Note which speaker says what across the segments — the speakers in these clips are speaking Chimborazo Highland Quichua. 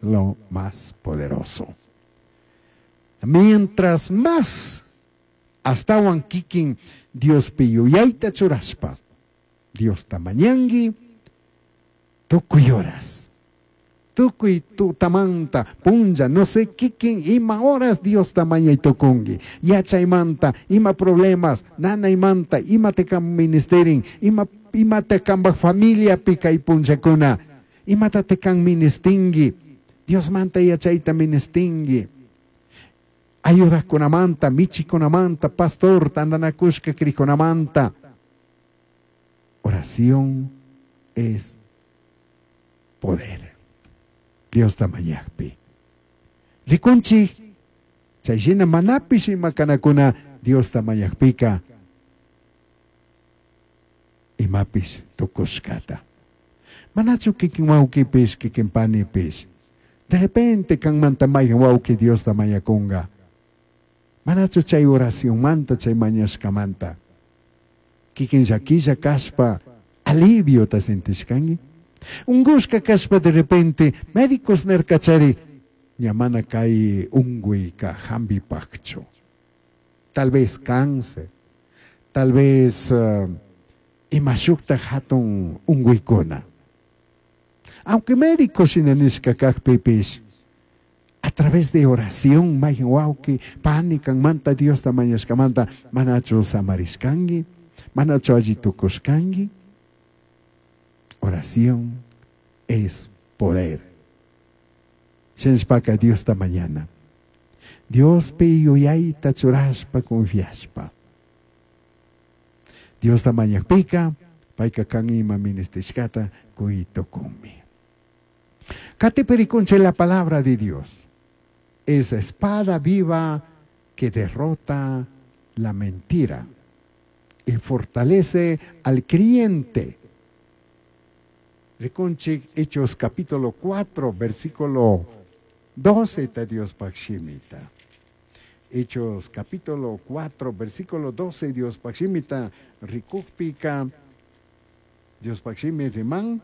Speaker 1: lo más poderoso. Mientras más astawan kikin Diospi yuyayta churashpa, Diosta mañanki, tukuy horas, tukuy tutamanta, punlla, no sé kikin ima horas Diosta mañay tukunki, yachaymanta, ima problemas, nanaymanta, ima te ministerin, ima te kambaj familiapi kay punllakuna, imata te kan ministinki, Diosmanta yachayta ministinki, ayudajkunamanta, michikunamanta, pastor, tandanakushka crikunamanta. Oración es poder. Diosta mañajpi. Rikunchik, chay shina manapish imakanakuna Diosta mañajpika imapish tukushkata. Manachu kikin wawkipish, kikin panipish. De repente kanmanta mayhan wawki Diosta mañakunga. Manachu chay oracionmanta, chay mañashkamanta. Kikin llakilla kashpa aliviota sentishkanki. Ungushka kashpa de repente médicos nirkachari ña mana kay unguyka hampipakchu. Tal vez cáncer, tal vez ima shukta hatun unguykuna. Aunque médicos shina nishka kakpipish, a través de oración, mayhan wawki, pani kanmanta Diosta mañashkamanta, manachu samarishkanki, manachu alli tukushkanki. Oración es poder. Shinashpaka Diosta mañana. Diospi yuyayta churashpa confiashpa. Diosta mañakpika, payka kan ima ministishkata kuytukunmi. Katipirikunche la palabra de Dios. Es espada viva que derrota la mentira y fortalece al creyente. Rikunchik Hechos capítulo 4, versículo 12, ta Dios pakshimita. Hechos capítulo 4, versículo 12, Dios pakshimita, rikukpika, Dios pakshimi riman,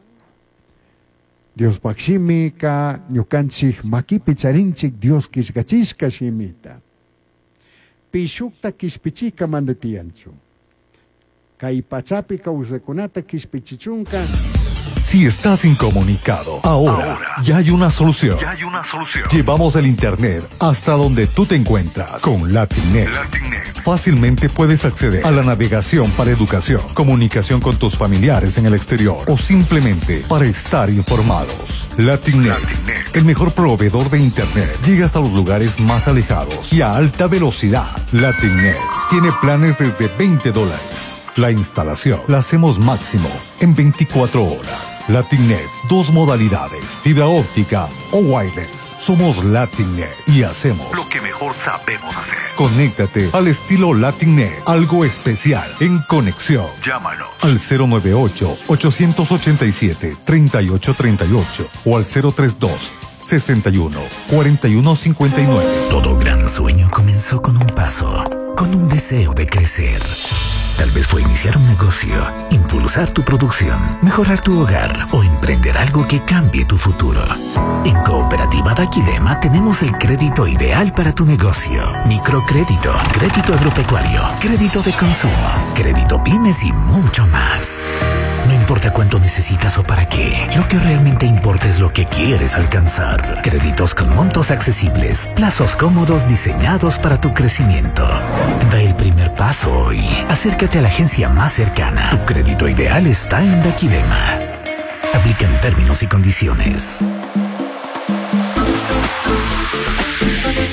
Speaker 1: Dios pakshimika, ñukanchik makipi charinchik, Dios kishkachishka shimita. Pishukta kishpichika mandatiyanchu. Kay pachapi kawsakunata kishpichichunka.
Speaker 2: Si estás incomunicado, ahora ya hay una solución.
Speaker 3: Ya hay una solución.
Speaker 2: Llevamos el internet hasta donde tú te encuentras con LatinNet.
Speaker 3: LatinNet.
Speaker 2: Fácilmente puedes acceder a la navegación para educación, comunicación con tus familiares en el exterior o simplemente para estar informados. LatinNet,
Speaker 3: LatinNet.
Speaker 2: el mejor proveedor de internet, llega hasta los lugares más alejados y a alta velocidad. LatinNet tiene planes desde veinte dólares. La instalación la hacemos máximo en 24 horas. LatinNet, dos modalidades, fibra óptica o wireless. Somos LatinNet y hacemos
Speaker 3: lo que mejor sabemos hacer.
Speaker 2: Conéctate al estilo LatinNet, algo especial en conexión.
Speaker 3: Llámanos
Speaker 2: al cero nueve ocho, ochocientos ochenta y siete, treinta y ocho treinta y ocho o al cero tres dos, sesenta y uno, cuarenta y uno cincuenta y nueve.
Speaker 4: Todo gran sueño comenzó con un paso, con un deseo de crecer. Tal vez fue iniciar un negocio, impulsar tu producción, mejorar tu hogar o emprender algo que cambie tu futuro. En Cooperativa Daquilema tenemos el crédito ideal para tu negocio. Microcrédito, crédito agropecuario, crédito de consumo, crédito pymes y mucho más. No importa cuánto necesitas o para qué, lo que realmente importa es lo que quieres alcanzar. Créditos con montos accesibles, plazos cómodos diseñados para tu crecimiento. Da el primer paso hoy. Acércate a la agencia más cercana. Tu crédito ideal está en Daquilema. Aplican términos y condiciones.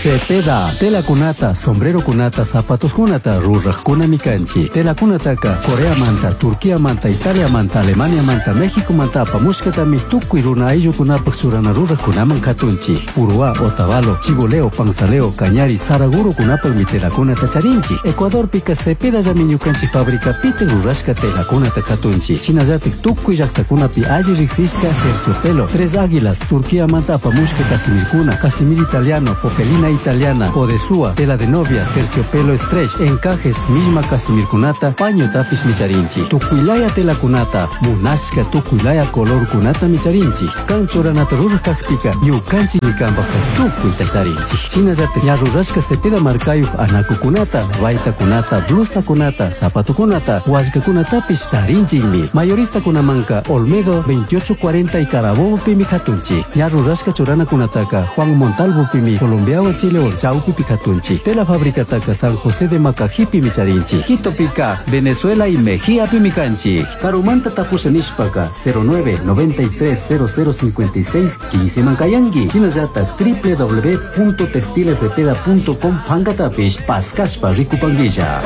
Speaker 5: Cepeda, tela cunata, sombrero cunata, zapatos cunata, ruraj cuna mikanchi, tela cunataka, Corea manta, Turquía manta, Italia manta, Alemania manta, México manta, apamushkatami, tukuy runa ayllu kunapak churana ruraj kunaman katunchi, Uruá, Otavalo, Chiboleo, Panzaleo, Cañari, Saraguro kunapak mi tela cunata charinchi, Ecuador pika Cepeda llami ñukanchi fábrica pite rurashka tela cunata katunchi, Chinallatik tukuy llaqtakunapi alli riqsishka terciopelo, Tres Águilas, Turquía manta, apamushka Casimir cuna, Casimir italiano, Popelina italiana, odesua, tela de novia, terciopelo stretch, encajes, millma casimirkunata, paño tapish micharinchik. Tukuylaya telakunata, munashka tukuylaya colorkunata micharinchik. Kan churanata ruraj kakpika, ñukanchik kampajka tukuyta charinchik. Shinallatak ña rurashka Cepeda markayuq anakukunata, baytakunata, blusakunata, zapatukunata, wallkakunatapish charinchikmi. Mayoristakunamanka Olmedo 2840 y Carabobo katunchik. Ña rurashka churanakunataka Juan Montalvo pimi Colombiawan Chilewan chawpipi katunchik. Tela fabricataka San José de Macajipi charinchik. Quitopika, Venezuela y Mejía pimi kanchik. Karumanta tapusha nishpaka 09 93 0056 15 mankayanki. Shinallatak www.textilescepeda.com pankatapish paskashpa rikupanguilla.